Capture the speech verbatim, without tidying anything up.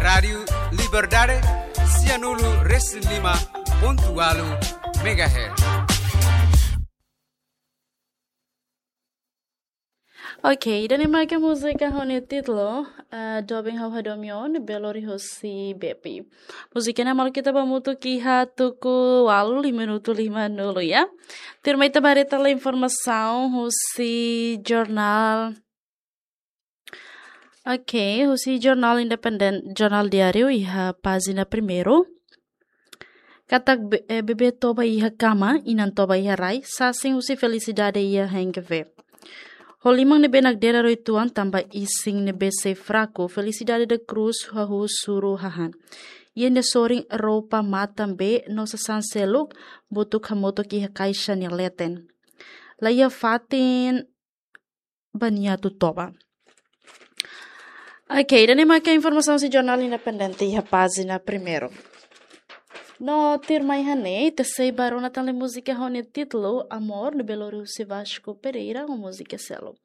Rádiu Liberdade, sianulu resin lima pontu walu megahertz. Ok, ida-ne'e mak múzika ho nia títulu, ah, Doben Hau Hadomion, Belori hosi Bepi. Múzika ne'e malu ita ba hamutuk iha tuku walu, lima minutu lima nulu, ya. Tuirmai ita ba haree tan informasaun husi jornál. Ok, husi jornál Independent, jornál diáriu iha pájina primeiru. Katak be-, eh, bebé toba iha kama, inan toba iha rai, sasin husi Felicidade iha Henry Cavill. Ho liman ne'ebé nakdedar uitoan tanba isin ne'ebé sei fraku, Felicidade da Cruz hahú suru hahán. Iha nia sorin roupa matan bee no sasán seluk, butuk hamutuk iha kaixa nia leten. Laiha fatin ba nia atu toba. Ok, ida-ne'e mak informasaun husi jornál Independente iha pájina primeiru. No tuirmai iha ne'e, ita sei ba rona tan múzika ho nia títulu Amor, no Belori husi Vasco Pereira, ho múzika seluk.